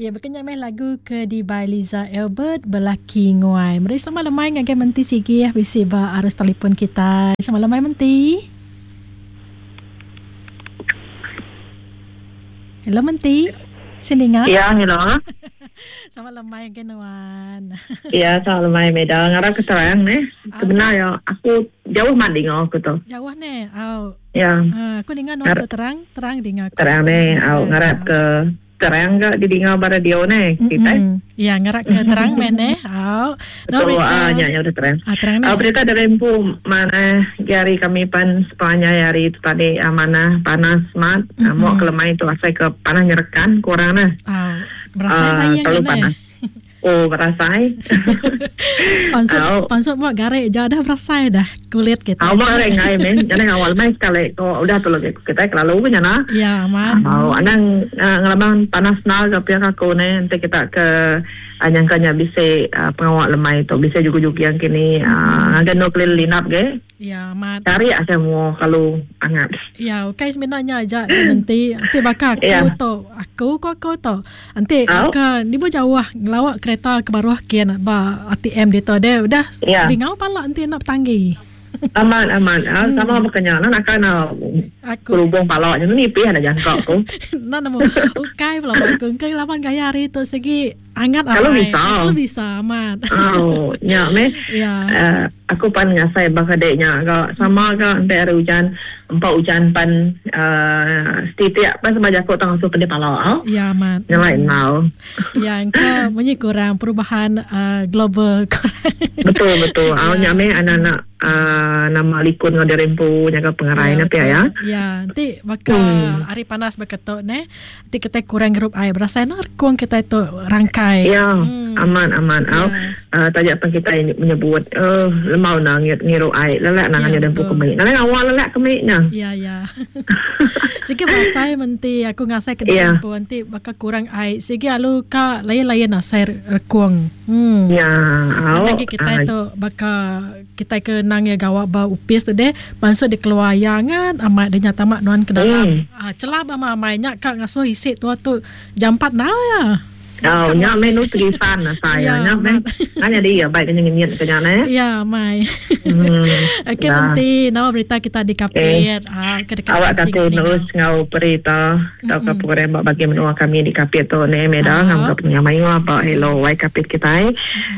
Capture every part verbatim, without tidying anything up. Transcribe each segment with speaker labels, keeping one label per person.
Speaker 1: Ya, berkenyak meh lagu ke di by Liza Albert Belaki Nguai. Meri selamat lemai ngagai Menti Sigi ya bisi ba arus telefon kita. Selamat lemai Menti. Hello Menti. Sini ngah.
Speaker 2: Ya, hello.
Speaker 1: Selamat lemai ngagai nuan.
Speaker 2: Ya, selamat lemai Meda. Ngarap ke terang neh. Sebenar ya, aku jauh mat dengar aku tu.
Speaker 1: Jauh neh. Au.
Speaker 2: Ya.
Speaker 1: Uh, aku dengar nuan tu terang, terang dengar aku.
Speaker 2: Terang neh. Au, ngarap ke terang ke didinga ba radio neh kita.
Speaker 1: Ya, ngarap ke terang men neh. Au.
Speaker 2: No, betul, ah, nya nya udah terang.
Speaker 1: Ah, terang neh.
Speaker 2: Ah, berita dari empu mana jari kami pan sepanjang hari tu tadi ah, mana panas mat. Mm-hmm. Ah, mau kelemai tu asai ke panas nyerekan kurang nah.
Speaker 1: Ah, berasai ah, tayang
Speaker 2: terlalu panas. Oh, berasai.
Speaker 1: Pansut, oh. Pansut buat garik je dah berasai dah kulit kita.
Speaker 2: Oh, buat garik ngai men. Jangan awal mai sekali. Oh, udah tolong kita kelalu punya nah.
Speaker 1: Ya, aman.
Speaker 2: Oh, anang uh, ngelaban panas na ke pihak aku ni nanti kita ke uh, nyangkanya bisa uh, pengawal lemai tu bisa juga-juga yang kini uh, agak no kelil linap ke.
Speaker 1: Ya, aman.
Speaker 2: Cari aja mau kalau hangat.
Speaker 1: Ya, okey sebenarnya aja nanti nanti bakal aku
Speaker 2: ya.
Speaker 1: Tu aku kau kau tu. Nanti
Speaker 2: oh.
Speaker 1: Ke ni bu jauh ngelawak kereta ke baruh kian ba A T M dia tu dia udah
Speaker 2: ya.
Speaker 1: Bingau pala nanti nak tanggi.
Speaker 2: Aman aman. Ah, hmm. Sama berkenyang nak kan
Speaker 1: aku
Speaker 2: berhubung pala je ni pih ada jangka aku.
Speaker 1: Nak nemu. Okey pula aku ke lapan gaya hari tu segi hangat
Speaker 2: kalau bisa.
Speaker 1: Kalau bisa aman.
Speaker 2: Oh, nya me.
Speaker 1: Ya.
Speaker 2: Uh, aku pan ngasai bakadeknya agak sama agak nanti ada hujan empat hujan pan uh, setiap pan sama jakut tang asuh pedih pala oh.
Speaker 1: Ya aman.
Speaker 2: Nyalain mau.
Speaker 1: Ya engkau bunyi kurang perubahan uh, global kurang.
Speaker 2: Betul betul. Au nya me anak-anak uh, nama likun ngau dirempu jaga pengerai
Speaker 1: ya,
Speaker 2: nanti ya.
Speaker 1: Ya, nanti bakal
Speaker 2: hmm.
Speaker 1: hari panas berketuk ne. Nanti kita kurang gerup air berasa nak kuang kita itu rangkai.
Speaker 2: Ya,
Speaker 1: hmm.
Speaker 2: aman aman. Au
Speaker 1: Ya.
Speaker 2: uh, tajak pan kita menyebut eh uh, lemau nang ngiru air lelak nang
Speaker 1: Ya,
Speaker 2: hanya dempu
Speaker 1: betul.
Speaker 2: kemik. Nang awal lelak kemiknya.
Speaker 1: Ya ya. Sikit berasai menti aku ngasai ke
Speaker 2: Ya.
Speaker 1: dempu nanti bakal kurang air. Sikit alu ka lain-lain asai rekuang. Hmm.
Speaker 2: Ya, au.
Speaker 1: Lagi kita
Speaker 2: Ah,
Speaker 1: itu bakal kita ke nang ya gawak ba upis tu deh masuk di keluar yangan amat dia nyata mak nuan ke dalam.
Speaker 2: Hmm.
Speaker 1: Ah, celah ba amai nya ka ngasuh isi tua tu jam empat now ya.
Speaker 2: Oh, nya menu tulisan lah saya.
Speaker 1: Ya,
Speaker 2: Nya men. Hanya dia baik kena ngenyit kena ne.
Speaker 1: Ya, mai.
Speaker 2: Hmm.
Speaker 1: Okey
Speaker 2: Ya.
Speaker 1: nanti nama berita kita di Kapit. Ah, ke dekat
Speaker 2: Awak
Speaker 1: sini
Speaker 2: aku
Speaker 1: ni.
Speaker 2: terus ngau berita tau ke program bagi menua kami di Kapit tu ne meda
Speaker 1: Ah.
Speaker 2: ngam ke punya mayu apa hello wai Kapit kita.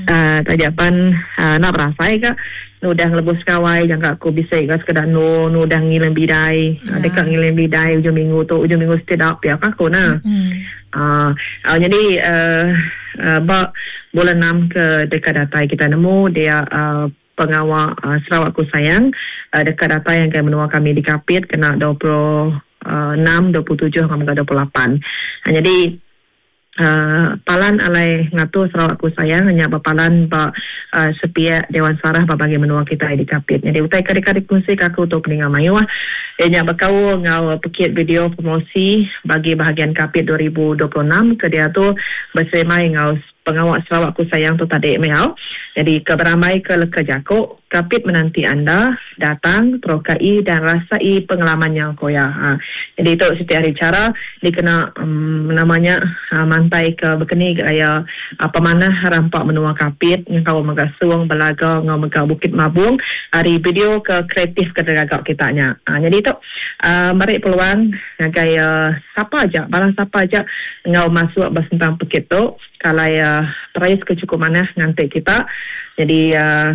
Speaker 2: Eh tajapan nak berasai ke nu dah ngelebus kawai jangka aku bisa ke sekedar nu nu dah ngilang bidai
Speaker 1: Ya.
Speaker 2: dekat ngilang bidai hujung minggu tu hujung minggu setiap pihak aku nah.
Speaker 1: Hmm.
Speaker 2: Ah, uh, jadi uh, uh, bak bulan enam ke dekat datai kita nemu dia uh, pengawal uh, Sarawakku Sayang uh, dekat datai yang ke menua kami di Kapit kena dua puluh enam, dua puluh tujuh sampai dua puluh lapan. Uh, jadi Uh, palan alai ngatur Sarawakku Sayang hanya berpalan ba uh, sepiak Dewan Sarah bagi menua kita di Kapit. Jadi utai kari-kari kongsi kaku tu peningal mayuah. Ianya berkau ngau pekit video promosi bagi bahagian Kapit dua ribu dua puluh enam ke dia tu bersemai ngau pengawal Sarawakku Sayang tu tadi meau. Jadi keberamai ke leka jakuk Kapit menanti anda datang terokai dan rasai pengalaman yang koya. Ha. Jadi itu setiap hari cara dikena um, namanya ha, mantai ke berkeni gaya apa mana rampak menua Kapit yang kau mega suang belaga ngau mega Bukit Mabung hari video ke kreatif ke tergagak kitanya. Ha, jadi itu uh, mari peluang ngagai uh, siapa aja barang siapa aja ngau masuk bersentang pekit tu kalau uh, perais kecukup mana ngantik kita. Jadi uh,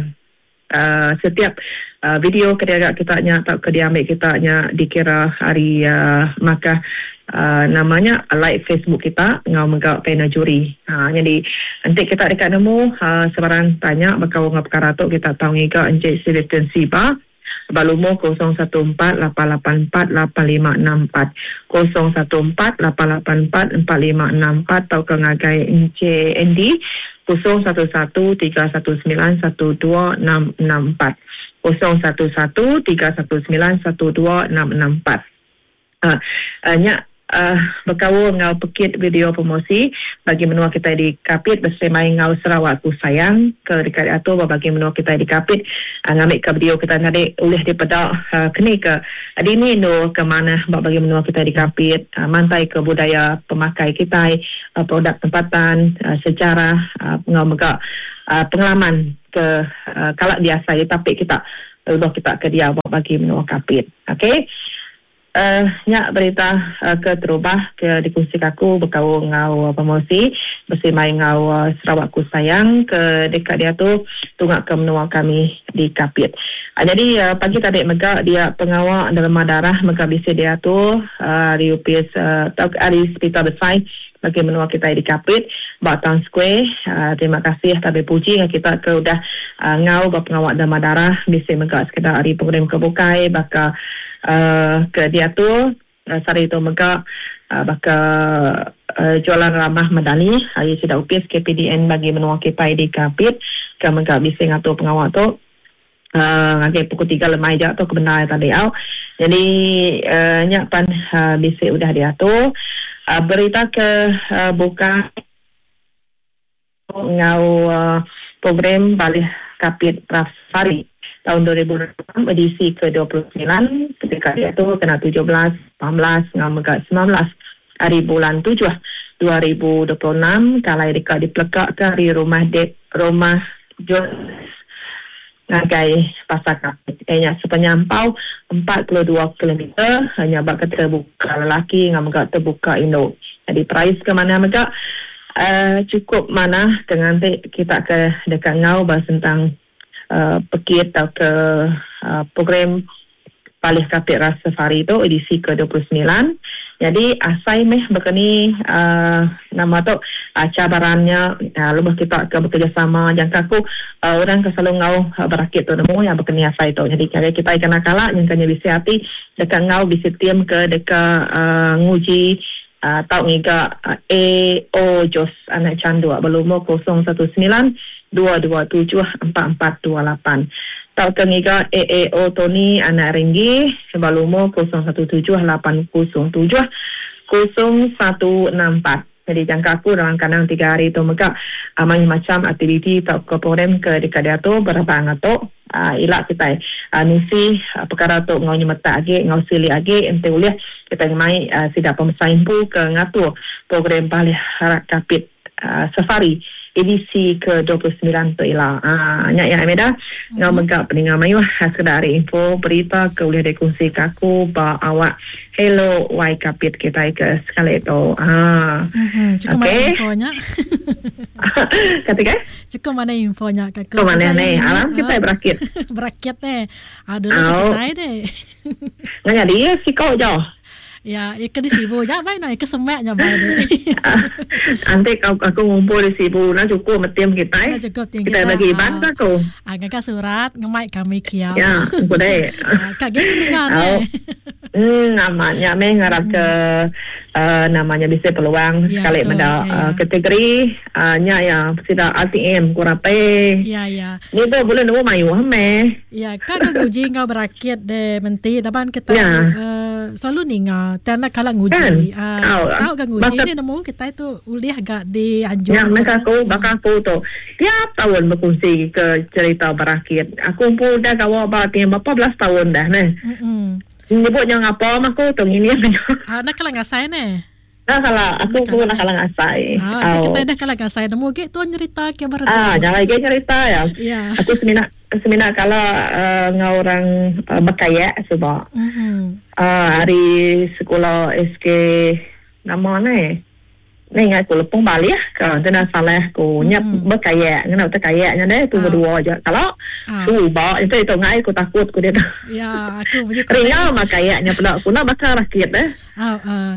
Speaker 2: Uh, setiap uh, video kedai kita nya atau ke diambil kita nya dikira hari uh, maka uh, namanya like Facebook kita ngau megak panel juri. Ha, jadi nanti kita dekat nemu uh, sebarang tanya bakal ngau perkara tu kita tahu ngiga Encik Sebastian Siba Balumo kosong satu empat lapan lapan empat lapan lima enam empat kosong satu empat lapan lapan empat empat lima enam empat atau ke ngagai Encik Andy kosong satu satu tiga satu sembilan satu dua enam enam empat kosong satu satu tiga satu sembilan satu dua enam enam empat. Ah, uh, nya uh, berkaul ngau pekit video promosi bagi menua kita di Kapit bersama ngau Sarawak Ku Sayang ke dekat atur bagi menua kita di Kapit uh, ngambil ke video kita tadi ulih dipedak uh, kini ke dini nu ke mana bagi menua kita di Kapit uh, mantai ke budaya pemakai kita uh, produk tempatan uh, sejarah uh, ngau mega uh, pengalaman ke uh, kalak biasa di tapik kita udah kita ke dia bagi menua Kapit. Okey. Uh, nyak berita uh, ke terubah ke dikongsi aku berkaul ngau promosi bersama ngau uh, Sarawak Ku Sayang ke dekat dia tu tungak ke menua kami di Kapit. Uh, jadi uh, pagi tadi mega dia pengawal dalam darah mega bisa dia tu uh, di U P S uh, hari Hospital Besar bagi menua kita di Kapit Batang Square. Uh, terima kasih tapi puji kita ke udah uh, ngau berpengawal dalam darah bisa mega sekedar hari program kebukai baka Uh, ke dia tu uh, sari tu mega uh, baka uh, jualan ramah medani hari sida U P S K P D N bagi menua kita di Kapit ke mega bisa ngatur pengawal tu uh, ngagai pukul tiga lemai jak tu kebenar tadi au. Jadi uh, nyak pan uh, bisa udah diatur uh, berita ke uh, buka ngau uh, program Balih Kapit Rafari tahun dua ribu enam edisi ke dua puluh sembilan ketika dia tu kena tujuh belas, lapan belas, ngau mega sembilan belas hari bulan tujuh dua ribu dua puluh enam kalau dekat dipelekak ke hari rumah dek rumah Jos ngagai pasar Kapit. Kayaknya sepenyampau empat puluh dua kilometer hanya bak terbuka lelaki ngau mega terbuka induk. Jadi price ke mana mega uh, cukup mana dengan kita ke dekat ngau bahas tentang Uh, pekit atau ke uh, program Palih Kapit Rasa Safari tu edisi ke dua puluh sembilan. Jadi asai meh berkeni uh, nama tu uh, cabarannya uh, lebih kita ke bekerjasama jangka aku uh, orang ke selalu ngau uh, berakit tu nemu yang berkeni asai tu. Jadi kalau kita kena kalak yang kena bisi hati dekat ngau bisi tim ke dekat uh, nguji Uh, tau ngiga uh, A O Jos anak candu berlumur kosong satu sembilan dua dua tujuh empat empat dua lapan. Tau ke ngiga A A O Tony anak Ringgi berlumur kosong satu tujuh lapan kosong tujuh kosong satu enam empat. Jadi jangka aku dalam kandang tiga hari tu mega uh, macam aktiviti tau ke program ke dekat dia tu berapa ngatuk uh, ilak kita uh, nusi uh, perkara tu ngau nyemetak agi ngau sili agi ente ulih kita ngemai uh, sidak pemesain pu ke ngatur program Balih Harak Kapit uh, Safari edisi ke dua puluh sembilan tu ila. Ah nyak ya Ameda ngau mega peninga mayuh sekedar info berita ke ulih dikongsi kaku ba awak Hello Y Kapit kita ke sekali tu. Ah.
Speaker 1: Mm-hmm. Cukup okay. Mana infonya?
Speaker 2: Kata
Speaker 1: Cukup mana infonya
Speaker 2: kakak? Cukup mana ni? Alam kita berakit.
Speaker 1: Berakit ni. Aduh kita deh.
Speaker 2: Nanya dia sikau jauh.
Speaker 1: Ya, ikan di Sibu ya, baik nak ikan semak nya baik deh.
Speaker 2: Nanti aku, aku ngumpul di Sibu, nak cukup metim kita.
Speaker 1: Nak cukup tim
Speaker 2: kita. Kita bagi ban aku.
Speaker 1: Ah, ngakak surat ngemai kami kiau.
Speaker 2: Ya, aku deh.
Speaker 1: Kak gini dengar ni.
Speaker 2: Hmm, namanya meh ngarap ke uh, namanya bisa peluang ya, sekali menda ya, ya. Uh, kategori uh, nya ya sida R T M kurang pe.
Speaker 1: Ya ya.
Speaker 2: Ni tu boleh nemu mayu meh.
Speaker 1: Ya, kak nguji ngau berakit deh menti daban kita
Speaker 2: ya.
Speaker 1: uh, selalu ninga tanda kalau nguji.
Speaker 2: Kan?
Speaker 1: Uh, tahu kan nguji ni nemu kita itu ulih agak dianjur.
Speaker 2: Ya, mereka aku bakal aku tu tiap tahun berkongsi ke cerita berakit. Aku pun dah kawal berarti berapa belas tahun dah neh.
Speaker 1: Mm-mm.
Speaker 2: Nyebut yang apa aku tu ini
Speaker 1: Ah, nak kalang ngasai ne.
Speaker 2: Nah kalau aku pun nak kalang ngasai.
Speaker 1: Ah, oh. Kita dah kalang ngasai nemu ge tuan cerita ke baru.
Speaker 2: Ah, jangan lagi cerita ya.
Speaker 1: Ya.
Speaker 2: Aku semina semina kalau uh, ngau orang uh, berkayak sebab.
Speaker 1: Mhm.
Speaker 2: Ah, hari sekolah S K nama ni. Ni ingat aku lepung balik kalau tena salah aku nyap berkayak ngena terkayaknya deh tu berdua aja. Kalau suba itu itu ngai aku takut aku dia.
Speaker 1: Ya, aku punya
Speaker 2: ringan mah kayaknya pula aku nak bakar rakit deh.
Speaker 1: Ah, uh,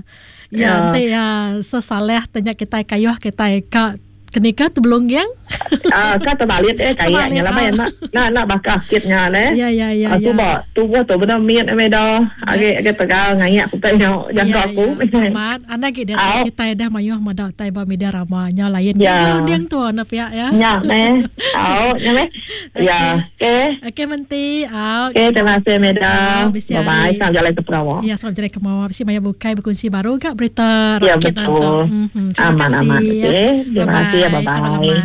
Speaker 1: ya, nanti ya sesaleh tanya kita kayuh kita ka kenika tu belum yang
Speaker 2: Ah, kata balik eh kayaknya lah bayan nak nak nak bakar sikitnya leh.
Speaker 1: Ya ya ya.
Speaker 2: Ah, tu ba tubuh tu benar miat me dah. Age age tegal ngayak ku tanya jangka aku.
Speaker 1: Mat, anda ge dia kita dah mayuh madak tai ba media rama nya lain. Ya. Runding tu na pihak ya.
Speaker 2: Nya meh. Au, nya meh. Ya, okey.
Speaker 1: Okey menti. Au.
Speaker 2: Okey, terima kasih Meda. Bye bye. Salam jalan ke Perawak.
Speaker 1: Ya, salam jalan ke Mawar. Bisi maya bukai berkongsi baru gak berita
Speaker 2: ya,
Speaker 1: rakyat
Speaker 2: betul.
Speaker 1: Mm-hmm. Terima
Speaker 2: aman,
Speaker 1: kasih.
Speaker 2: Aman, okey. Terima kasih ya, bye bye.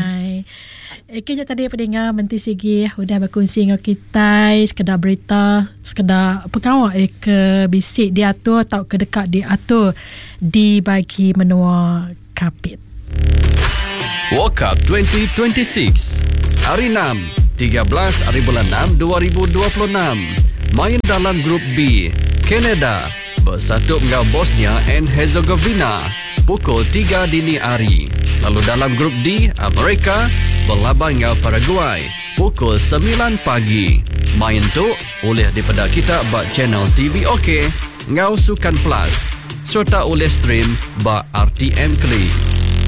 Speaker 1: Okey, je tadi pendengar Menti Sigi udah berkongsi dengan kita sekedar berita, sekedar pengawal eh, ke bisik diatur atau ke dekat diatur di bagi menua Kapit.
Speaker 3: World Cup dua ribu dua puluh enam Hari enam, tiga belas hari bulan enam dua ribu dua puluh enam. Main dalam grup B, Kanada bersatu dengan Bosnia and Herzegovina pukul tiga dini hari. Lalu dalam grup D, Amerika berlaban dengan Paraguay pukul sembilan pagi. Main tu oleh daripada kita bak channel T V OK ngau Sukan Plus serta oleh stream bak R T M Klik.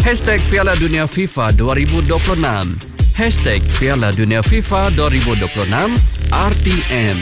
Speaker 3: Hashtag Piala Dunia FIFA dua ribu dua puluh enam. Hashtag Piala Dunia FIFA dua ribu dua puluh enam R T M.